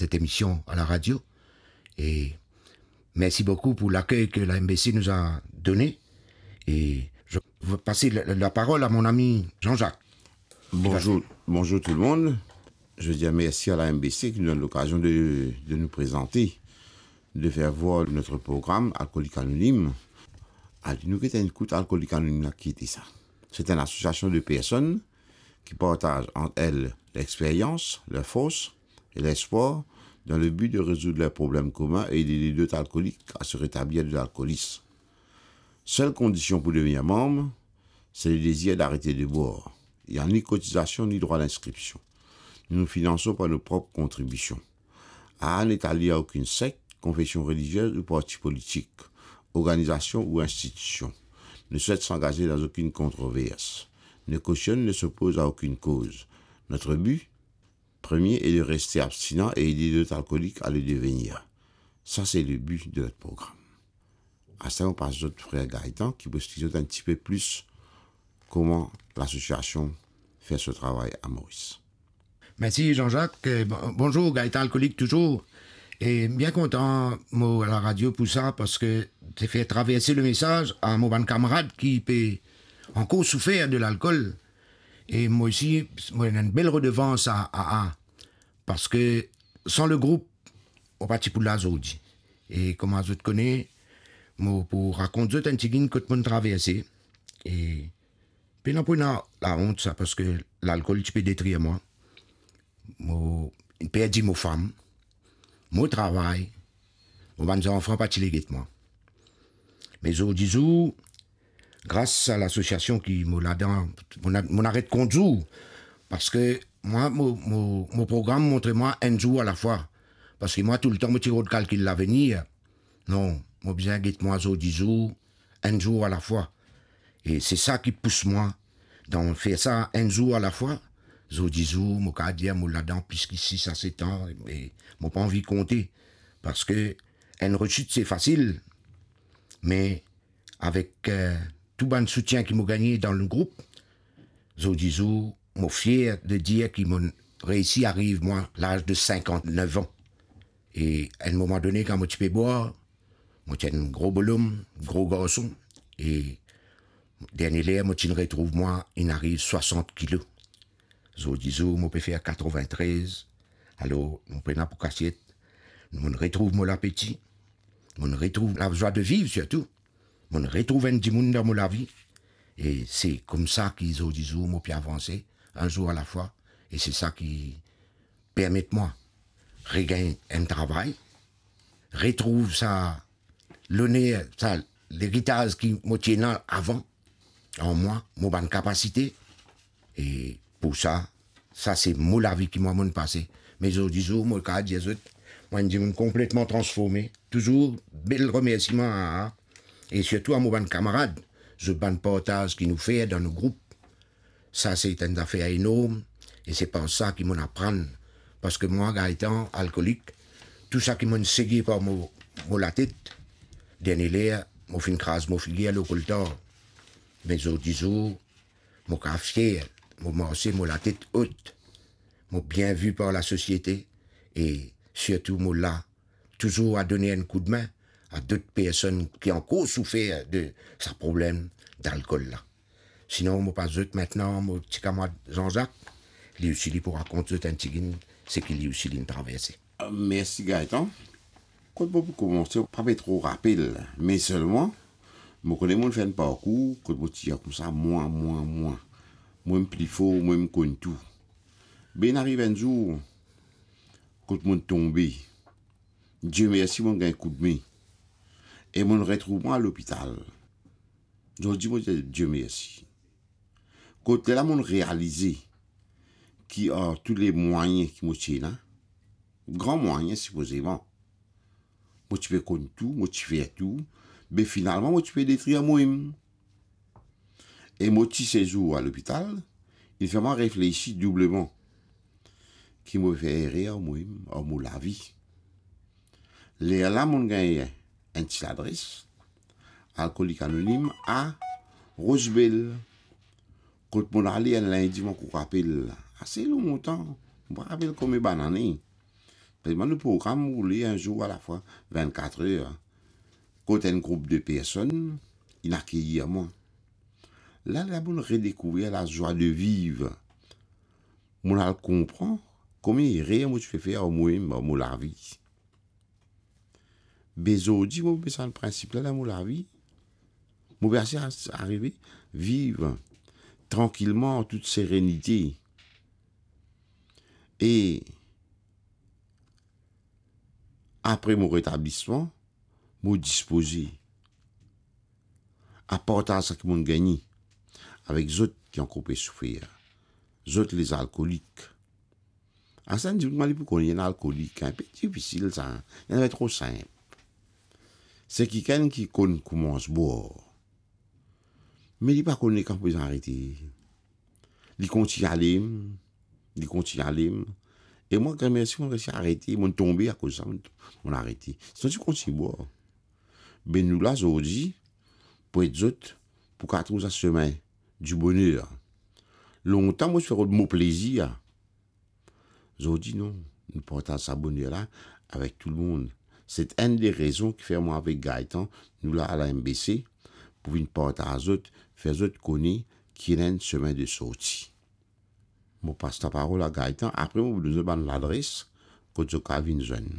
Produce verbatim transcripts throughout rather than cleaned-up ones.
cette émission à la radio. Et merci beaucoup pour l'accueil que la M B C nous a donné. Et je vais passer la, la parole à mon ami Jean-Jacques. Bonjour, bonjour tout le monde. Je veux dire merci à la M B C qui nous donne l'occasion de, de nous présenter, de faire voir notre programme Alcoolique Anonyme. Alor, nou get enn kout Alcoolique Anonyme la, ki ete sa? C'est une association de personnes qui partagent entre elles l'expérience, leur force et l'espoir dans le but de résoudre leurs problèmes communs et d'aider d'autres alcooliques à se rétablir de l'alcoolisme. Seule condition pour devenir membre, c'est le désir d'arrêter de boire. Il n'y a ni cotisation ni droit d'inscription. Nous nous finançons par nos propres contributions. A, ne t'allie à aucune secte, confession religieuse ou parti politique, organisation ou institution. Ne souhaite s'engager dans aucune controverse. Ne cautionne, ne s'oppose à aucune cause. Notre but premier est de rester abstinent et aider d'autres alcooliques à le devenir. Ça, c'est le but de notre programme. Aster, mo pas zot frer Gaëtan, ki pou explike zot un petit peu plus comment l'association fait ce travail à Maurice. Merci Jean-Jacques. Euh, bon- bonjour, Gaëtan Alcoolique toujours. Et bien content, mo, à la radio pour ça, parce que c'est faire traverser le message à mon bann camarade qui peut encore souffrir de l'alcool. Et moi aussi, moi, une belle redevance à, à, à, parce que sans le groupe, mo pa ti pou la zordi. E kouma zot kone, mo pou rakont zot enn tigit kot mo'nn traverse. E pena pou ena laont sa, parski lalkol ti pe detrir mwa. Mo perdi mo fam, mo travay, mo bann zanfan pa ti le get mwa. Me zordi zour, gras a lasosiasion ki mo ladan, mo, mo aret kont zour, parski mwa, mo, mo, mo program montre mwa enn zour alafwa. Parski mwa, toultan, mo ti rod kalkil lavenir. Non, mo bizin get mwa zordi zour, enn zour alafwa. E se sa ki pous mwa dan fer sa enn zour alafwa. Zordi zour, mo kapav dir mo ladan plis ki sis a set an, e mo pa anvi konte. Parski enn resit, se fasil, me avek, eh, tou bann soutien ki mo gagne dan le group, zordi zour, mo fier de dir ki mo'nn reisi ariv mwa laz de sinkant-nef an. E enn moman done, kan mo ti pe bwar, mo ti enn gro bolom, gro garson, e dernie ler mo ti'nn retrouv mwa, inn ariv swasant kilo. Zordi zour, mo pe fer katrevintrez. Alor, mo pena pou kasiet, mo'nn retrouv mo lapeti, mo'nn retrouv lazwa de viv sirtou. Mo'nn retrouv enn dimoun dan mo lavi. E se koumsa ki zordi zour mo pe avanse, enn zour alafwa. E se sa ki permet mwa regagn enn travay, retrouv sa loner, sa leritaz ki mo ti ena avan an mwa, mo bann kapasite. E pou sa, sa se mo lavi ki mwa mo'nn pase. Me zordi zour, mo kapav dir zot, mwa enn dimoun konpletman transforme. Touzour bel remersiman a, a, e sirtou a mo bann kamarad, zot bann partaz ki nou fer dan nou group. Sa se enn zafer enorm, e se par sa ki mo'nn aprann. Parski mwa, Gaetan, alkolik, tou sa ki mo'nn sege par mo, mo latet, dernie ler, mo finn kraz mo figir lor koltar. Me zordi zour, mo kapav fier, mo marse mo latet ot, mo bien vi par lasosiete, e sirtou mo la touzour a donn enn koudmin a dot personn ki ankor soufer de sa problem dalkol la. Sinon, mo pas zot mintnan mo ti kamarad Jean-Jacques, li osi li pou rakont zot enn tigit seki li osi li'nn traverse. Mersi, Gaetan. Kot mo pou koumanse, pa pe tro rapel, me selman, mo kone mo'nn fer enn parkour kot mo ti dir koumsa, mwa, mwa, mwa, mwa mem pli for, mwa mem konn tou. Be inn ariv enn zour kot mo'nn tonbe. Die mersi, mo'nn gagn koudme. E mo'nn retrouv mwa lopital. Zordi mo dir Die mersi. Kot lerla mo'nn realize ki ar tou le mwayin ki mo ti ena, gran mwayin sipozeman, mo ti pe konn tou, mo ti fer tou, be finalman mo ti pe detrir mwa mem. E mo ti sezour a lopital, inn fer mwa reflesi doubleman ki mo fer erer ar mwa mem, ar mo lavi. Lerla mo'nn gagn enn ti ladres, Alkolik Anonim a Rose Belle. Kot mo'nn ale enn lindi, mo ankor rapel, ase lontan, mo pa rapel konbien bann ane. Parski nou program roule enn zour alafwa, vennkat er. Kot enn group de personn, inn akeir mwa. La, la, mo redekouver lazwa de viv. Mo al konpran komie erer mo ti pe fer ar mo, ar mo lavi. Be zordi, mo pe sa prinsip la dan mo lavi. Mo pe ase a-, arive viv trankilman, an tout serenite. E apre mo retablisman, mo dispoze a partaz sa ki mo'nn gagne avek zot ki ankor pe soufer, zot lezalkolik. Asannla, dimoun li pou kone enn alkolik, inpe difisil sa, enn tro sinp. Se kikenn ki konn koumans bwar, me li pa kone kan pou bizin arete. Li kontign ale, li kontign ale. E mwa, gramersi, mo resi arete, mo'nn tonbe akoz sa, mo'nn, mo'nn arete. Sinon, ti kontign bwar. Be nou la zordi pou ed zot pou kapav trouv sa semin di boner. Lontan, mo ti fer rod mo plezir. Zordi, non, nou partaz sa boner la avek tou lemonn. Se enn de rezon ki fer mwa avek Gaëtan, nou la a la M B C, pou vinn partaz zot, fer zot kone ki ena enn semin de sorti. Mo pas laparol a Gaëtan, apre mo pou donn zot bann ladres kot zot kapav vinn zwenn.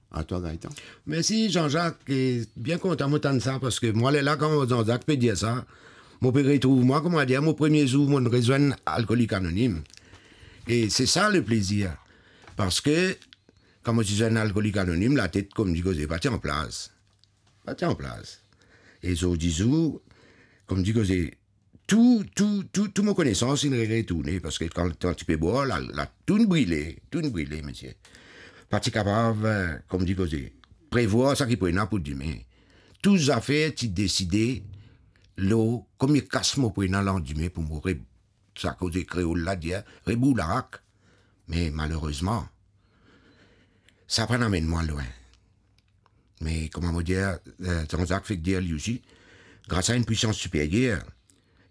A twa, Gaëtan. Mersi, Jean-Jacques, e bien kontan mo tann sa, parski mwa, lerla kan Jean-Jacques pe dir sa, mo pe retrouv mwa, kouma dir, mo premie zour mo'nn rezwenn Alkolik Anonim. E se sa leplezir. Parski, kan mo ti zwenn Alkolik Anonim, latet, kouma dir koze, pa ti an plas. Pa ti an plas. E zordi zour, kouma dir koze, tou, tou, tou, tou mo konesans inn re-, retourne, parski kan, kan ti pe bwar, la, la, tou inn brile, tou inn brile, misie. Pa ti kapav, eh, kouma dir koze, prevwar sa ki pou ena pou dime. Tou zafer ti deside lor komie kas mo pou ena landime pou mo re-, sa koze kreol la dir, rebourd larak. Me malerezman, sa pa'nn amenn mwa lwin. Me kouma mo dir, eh, Jean-Jacques fek dir li osi, gras a enn pwisans siperyer.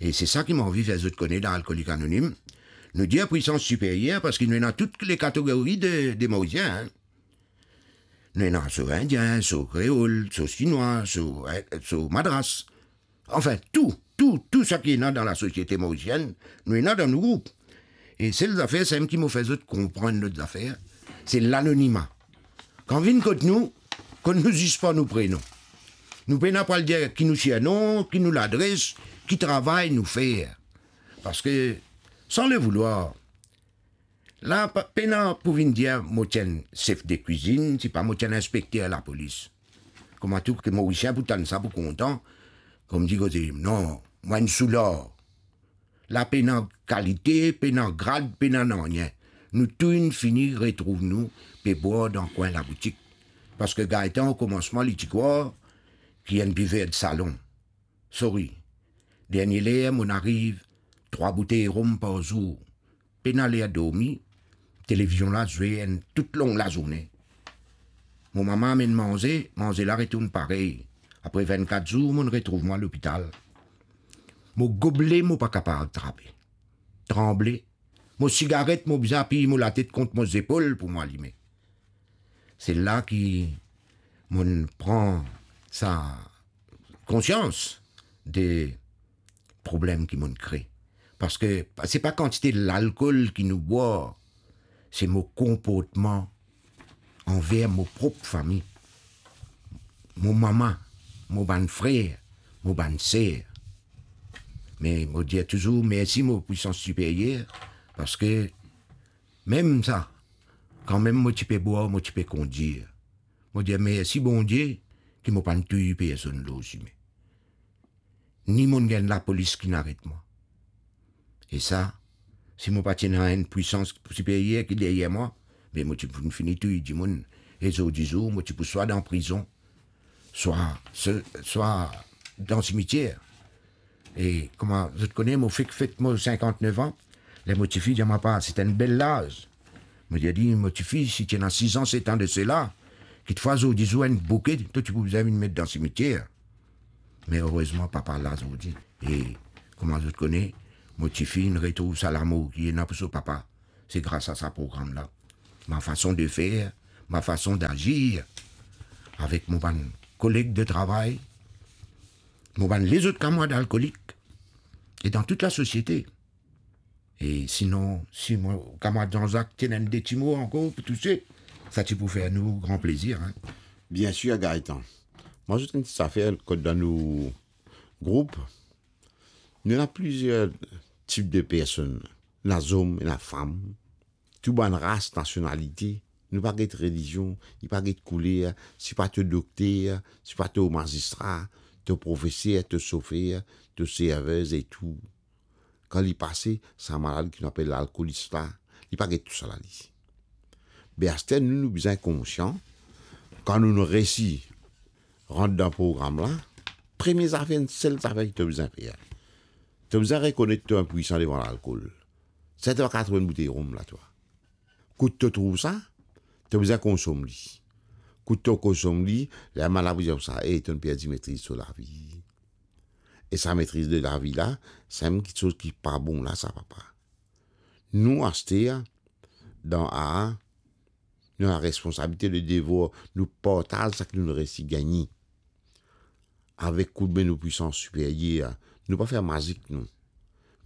E se sa ki mo anvi fer zot kone dan Alkolik Anonim. Nou dir pwisans siperyer parski nou ena tou lekategori de, de Morizien, hein. Nou ena so Indien, so Kreol, so Sinwa, so, eh, so Madras. Anfin, tou, tou, tou sa ki ena dan lasosiete morizienn, nou ena dan nou group. E sel zafer, samem ki mo fer zot konprann lot zafer, se lanonima. Kan vinn kot nou, kot nou zis par nou prenon. Nou pena pou al dir ki nou sirnom, ki nou ladres, ki travay nou fer. Parski, san le voulwar, la, pa, pena pou vinn dir mo ti enn sef de kwizinn, sipa mo ti enn inspekter lapolis. Kouma tou ki Morisien pou tann sa pou kontan, kouma dir koze, non, mwa enn soular. La pena kalite, pena grad, pena nanye. Nou tou inn fini retrouv nou pe bwar dan kwin laboutik. Parski Gaetan, o komansman, li ti krwar ki enn biver de salon. Sorry. Dernie ler, mo'nn ariv trwa boutey rom par zour. Pena ler dormi, televizion la zwe enn tou long lazourne. Mo mama amenn manze, manze la retourn parey. Apre vennkat zour, mo'nn retrouv mwa lopital. Mo goble, mo pa kapav trape. Tranble. Mo sigaret, mo bizin apiy mo latet kont mo zepol pou mo alime. Se la ki mo'nn pran sa konsians de problem ki mo'nn kre. Parski se pa kantite lalkol ki nou bwar, se mo konportman anver mo prop fami, mo mama, mo bann frer, mo bann ser. Me mo dir touzour mersi mo pwisans siperyer, parski mem sa, kanmem mo ti pe bwar, mo ti pe kondir. Mo dir mersi Bondie ki mo pa'nn touy personn lor sime. Ni mo'nn gagn lapolis ki'nn aret mwa. E sa, si mo pa ti ena enn pwisans siperyer ki deryer mwa, be mo ti pou fini touy dimoun. E zordi zour, mo ti pou swa dan prizon, swa, swa dan simitier. E kouma zot kone, mo fek fet mo sinkant-nef an, ler mo tifi dir mwa, "Papa, se enn bel laz." Mo dir li, "Mo tifi, si ti ena sis an, set an de sela, kitfwa zordi zour enn bouke, to ti pou bizin vinn met dan simitier." Me erezman, papa la zordi. E kouma zot kone, mo tifi inn retrouv sa lamour ki ena pou so papa. Se gras a sa program la. Ma fason de fer, ma fason dazir avek mo bann koleg de travay, mo bann lezot kamarad alkolik, e dan tout lasosiete. E sinon, si mo kamarad Jean-Jacques ti ena enn de ti mo ankor pou touse, sa ti pou fer nou gran plezir, hein. Bien sir, Gaëtan. Mwa, zot enn ti zafer kot dan nou group, nou ena plizier tip de personn. Ena zom, ena fam, tou bann ras, nasionalite. Nou pa get relizion, li pa get kouler, si pa to dokter, si pa to mazistra, to profeser, to sofer, to servez e tou. Kan li pase, sa malad ki nou apel lalkolis la, li pa get tousala li. Be aster nou, nou bizin konsian, kan nou, nou resi rant dan program la, premie zafer, enn sel zafer ki to bizin fer, to bizin rekonet to inpwisan devan lalkol. Sa to pa kav trouv enn boutey rom la, twa. Kot to trouv sa, to bizin konsom li. Kot to konsom li, lerla malad pou dir sa, e, to'nn perdi metriz so lavi. E sa metriz de lavi la, sa mem kiksoz ki pa bon la, sa, papa. Nou, aster, dan A A, nou ena responsabilite, le devwar, nou partaz seki nou resi gagne. Avek koudme nou pwisans siperyer, nou pa fer mazik, nou.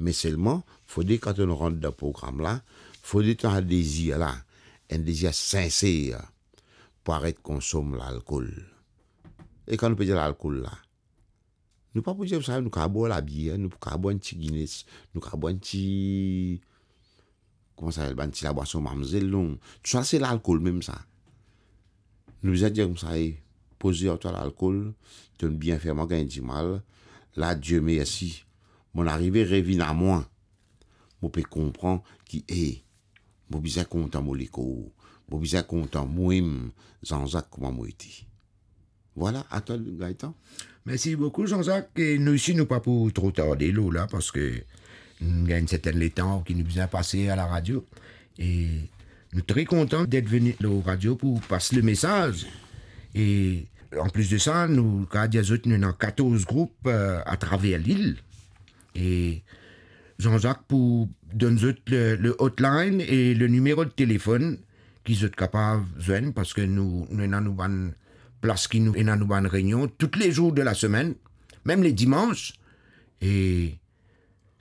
Me selman, fode kan to'nn rant dan program la, fode to ena dezir la, enn dezir sinser pou aret konsom lalkol. E kan nou pe dir lalkol la, nou pa pou dir sa, nou kav bwar labier, nou kav bwar enn ti Guinness, nou kav bwar enn ti, kouma sa apel, bann ti labwason mamzel, non. Tousala se lalkol mem sa. Nou bizin dir koumsa, e, poze ar twa lalkol, to'nn bien fer mwa gagn dimal. La, Die mersi, mo'nn arive revinn a mwa. Mo pe konpran ki, e, mo bizin kontan mo lekor, mo bizin kontan mwemem, Jean-Jacques, kouma mo ete. Vwala, a twa, Gaëtan. Mersi boukou, Jean-Jacques. E nou isi, nou pa pou tro tarde lor la, parski nou gagn serten letan ki nou bizin pase a laradio. E nou tre kontan det vini lor radio pou pas lemesaz. E anplis de sa, nou kav dir zot, nou ena katorz group, eh, atraver lil. E Jean-Jacques pou donn zot le, le hotline e le nimero de telefonn ki zot kapav zwenn, parski nou, nou ena nou bann plas ki nou ena nou bann reynion tou le zour de lasemenn, mem le dimans. E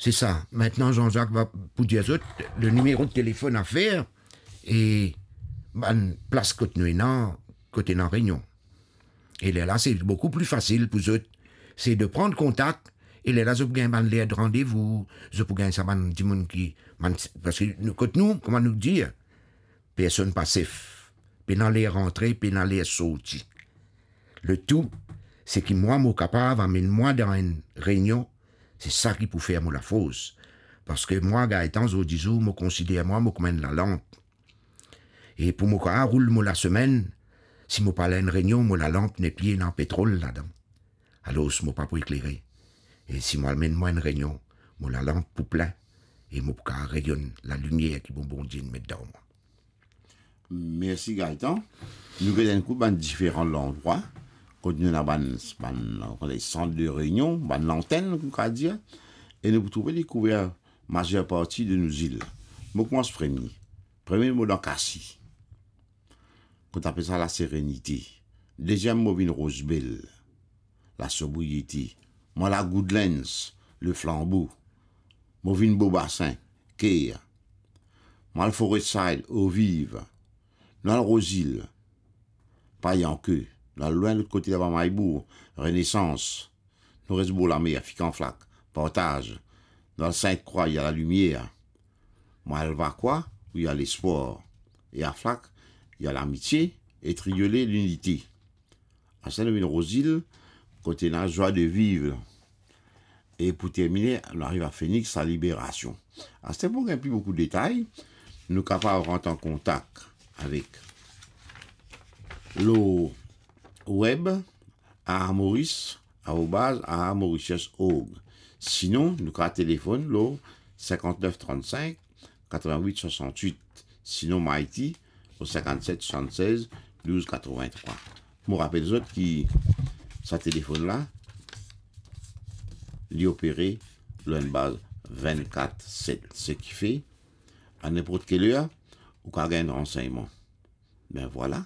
se sa. Mintnan, Jean-Jacques va pou dir zot le nimero de telefonn a fer e bann plas kot nou ena, kot ena reynion. E lerla, se boukou pli fasil pou zot, se de pran kontak, e lerla, zot pou gagn bann ler de randevou, zot pou gagn sa bann dimoun ki, bann, parski nou, kot nou, kouma nou dir, personn pa sef, pena ler rantre, pena ler sorti. Letou, seki mwa mo kapav amenn mwa dan enn reynion, se sa ki pou fer mo lafors. Parski mwa, Gaëtan, zordi zour, mo konsider mwa mo kouma enn lalanp. E pou mo kav roul mo lasemenn, si mo pa al enn reynion, mo lalanp nepli ena petrol ladan. Alor, mo pa pou eklere. E si mo al amenn mwa enn reynion, mo lalanp pou plin, e mo pou kav reyonn lalimier ki mo Bondie inn met dan mwa. Mersi, Gaëtan. Nou gete enn kou bann diferan landrwa kot nou ena bann, bann, kouma dir, sant de reynion, bann lantenn, nou kav dir, e nou pou trouve li kouver mazer parti de nou zil. Mo koumans premie. Premie, mo dan Kasi, kot apel sa Laserenite. Deziem, mo vinn Rose Belle, Lasobriete. Mo al Goodlands, Le Flambeau. Mo vinn Beau Bassin, Caire. Mo al Forest Side, Eau Vive. Nou al Rose Hill, Payanke. Nou al lwin lot kote laba, Maybour, Renaissance. Nou res bor lamer, Fik an Flak, Partage. Nou al Sinte Krwa, ena Lalimier. Mo al Vakwa, wi, ena Lespwar. E a Flak, ena Lamitie, e Triolet, Linite. Aster nou vinn Rose Hill, kot ena Joie de Vivre. E pou termine, nou ariv a Phoenix, Laliberasion. Aster pou gagn pli boukou detay, nou kapav rant an kontak avek lor web, aa maurice arobaz aa mauritius org. Sinon, nou kav telefonn lor sinkant-nef trant-sink, katrovin-wit swasant-wit. Sinon, Mighty, o sinkant-set swasann-sez douz katrovin-trwa. Mo rapel zot ki sa telefonn la, li opere lor enn baz vinn-kat-set. Sekife, a ninport ki ler, ou kav gagn ransegnman. Ben vwala,